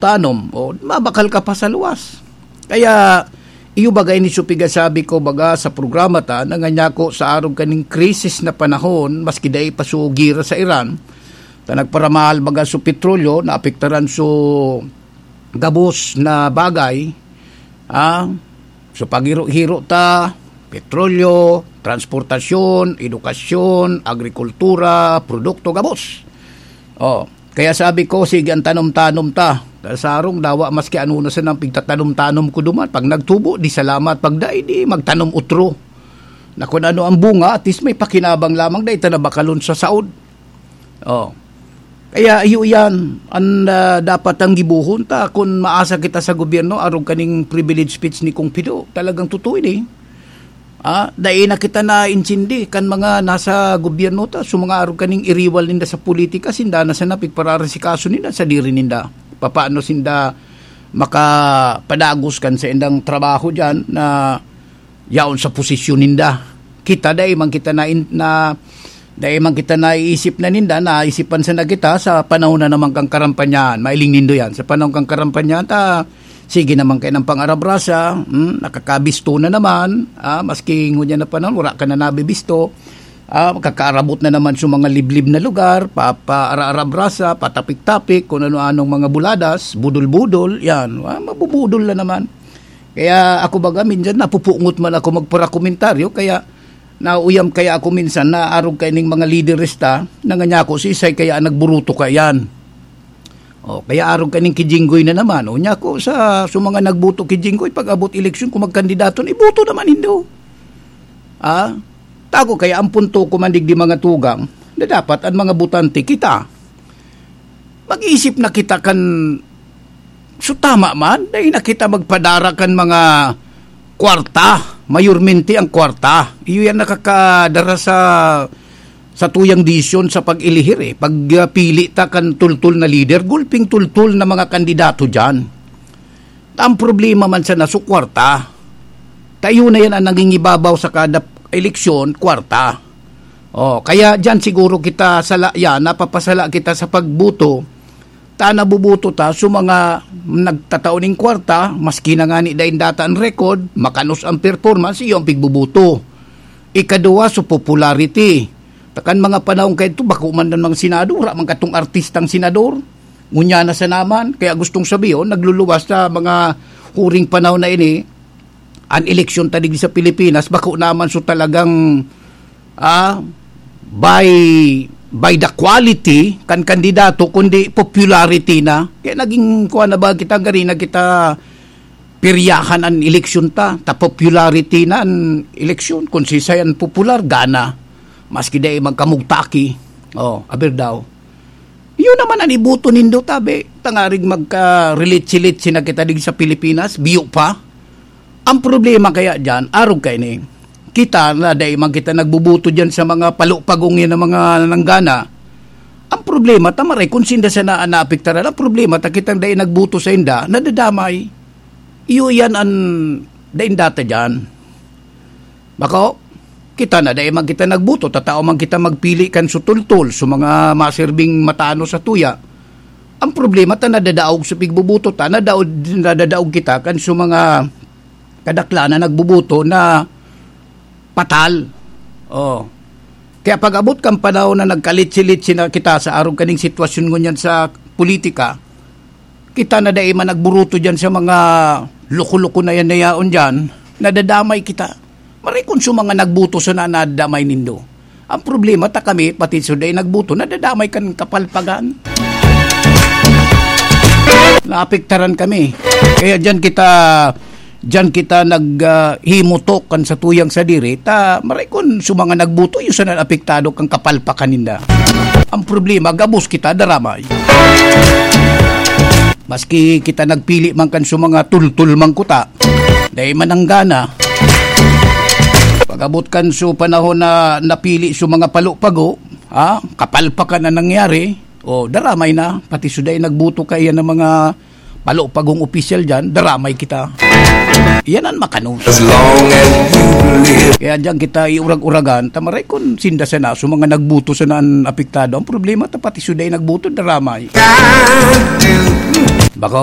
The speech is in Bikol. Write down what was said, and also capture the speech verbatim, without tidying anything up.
tanom, o mabakal ka pa sa luwas. Kaya, iyo baga ini su pigasabi ko baga sa programa ta, na nganyako sa arog kaning krisis na panahon, maski dai pa su gera sa Iran, ta nagparamahal baga su petrolyo, naapektaran su gabos na bagay, ah, su paghiro-hiro ta, petrolyo, transportasyon, edukasyon, agrikultura, produkto, gabos. Oh, kaya sabi ko, sige, ang tanom-tanom ta. Sa sarong dawa, maski ano na sanang pigtatanom-tanom ko duman. Pag nagtubo, di salamat. Pag dai, di magtanom utro. Na kung ano ang bunga, at least may pakinabang lamang, dai ta na bakalon sa saod. Oh. Kaya iyo yan, ang, ah, dapat ang gibohon ta. Kung maasa kita sa gobyerno, arog kaning privilege speech ni Kong Pido, talagang totoo ini. Ah, dai na kita naintindi kan mga nasa gobyerno ta, so mga arog kaning iriwal ninda sa politika, sinda na sana pigpararasikaso ninda sa diri ninda. Papaano sinda makapadagos kan sa indang trabaho diyan na yaon sa posisyon ninda? Kita dai man kita na, na dai man kita naiisip na ninda, naisipan sana kita sa panahon na naman kang karampanyahan. Mailing nindo yan. Sa panahon kang karampanyahan, ta, sige naman kayo ng pangarabrasa, hmm, nakakabisto na naman, ah, maski ngunyan na panahon, wala ka na nabibisto, ah, kakaarabot na naman sa mga liblib na lugar, pa, paaraarabrasa, patapik-tapik, kung ano-anong mga buladas, budol-budol, yan, ah, mabubudol na naman. Kaya ako baga, minsan napupungot man ako magparakomentaryo, kaya nauyam kaya ako minsan na arog kaining mga lideres ta, na nganyako si Isay kaya nagburuto ka yan. O, kaya arog kaning ki Jinggoy na naman. O, nyako sa, sa mga nagboto ki Jinggoy, pag abot eleksyon, kung magkandidato na, iboto naman nindo. Ah? Tako kaya ang punto ko man digdi mga tugang, na dapat ang mga botante kita. Mag-isip na kita kan, so tama man, dai na kita magpadara kan mga kwarta, mayormente ang kwarta. Iyo yan nakakadara sa, sa tuyang desisyon sa pag-elihir eh. Pag, ah, pili ta kan tultol na lider, gulping tultol na mga kandidato diyan. Ang problema man sana sa kwarta. Tayo na yan ang nangingibabaw sa kada eleksyon, kwarta. Oh, kaya diyan siguro kita sala, yan, napapasala kita sa pagboto. Ta nabuboto ta so mga nagtatao ning kwarta, maski na ngani dain data ang record, makanos ang performance, iyo ang pigboboto. Ikaduwa, so popularity. Takan mga panahon kayo ito, bako man ang mga senador, wala man katong artistang senador. Ngunyan na sa naman, kaya gustong sabihin, nagluluwas sa mga huring panahon na ini, ang eleksyon ta digdi sa Pilipinas, bako naman so talagang, ah, by, by the quality kan kandidato, kundi popularity na. Kaya naging kuha na ba kita, gari na kita piryahan an eleksyon ta, ta popularity na an eleksyon. Kung sisay an popular, gana. Maski dai magkamugtaki. Oh, aber daw. Yun naman an iboto nindo, tabi. Tangarig magka-relitsi-litsi na kita digdi sa Pilipinas, biyo pa. Ang problema kaya diyan, arog kay ni, kita na dai man kita nagbuboto diyan sa mga palupagong yan na mga nanggana. Ang problema, ta maray kung sinda sana an naapektaran. Ang problema, ta kitang dai nagboto sa inda, nadadamay. Iyo yan an dain data diyan. Bako, kita na dai man kita nagboto, ta tao man kita magpili kan sutultol, so mga maserbing matano sa tuya. Ang problema ta nadadaog sa pigboboto ta, nadaog, nadadaog kita kan so mga kadaklan na nagboboto na patal. Oh. Kaya pag-abot kan panahon na nagkalitsi-litsi na kita sa arog kaning sitwasyon ngunyan sa politika, kita na dai man nagburuto diyan sa mga loko-loko na yan na yaon diyan, nadadamay kita. Maray kun sa mga nagboto sana nadadamay nindo. Ang problema ta kami, pati sa dai nagboto, nadadamay kan kapalpagan. Naapektaran kami. Kaya diyan kita, diyan kita nag, ah, himutok kan sa tuyang sadiri, ta maray kun sa mga nagboto, yung sana apektado kan kapalpakan ninda. Ang problema, gabos kita, daramay. Maski kita nagpili man kan sa mga tultul man kuta, dai man ang gana. Pag-abot kan sa panahon na napili sa mga palupago, ha? Kapalpakan na nangyari, o daramay na, pati suday nagboto kaiyan ng mga palupagong opisyal dyan, daramay kita. Yan ang makanos. As long as you live. Kaya dyan kita iurag-uragan, tamaray kun sinda sana, so mga nagboto sana ang apektado. Ang problema, ta pati suday nagboto, daramay. Can't do Bako,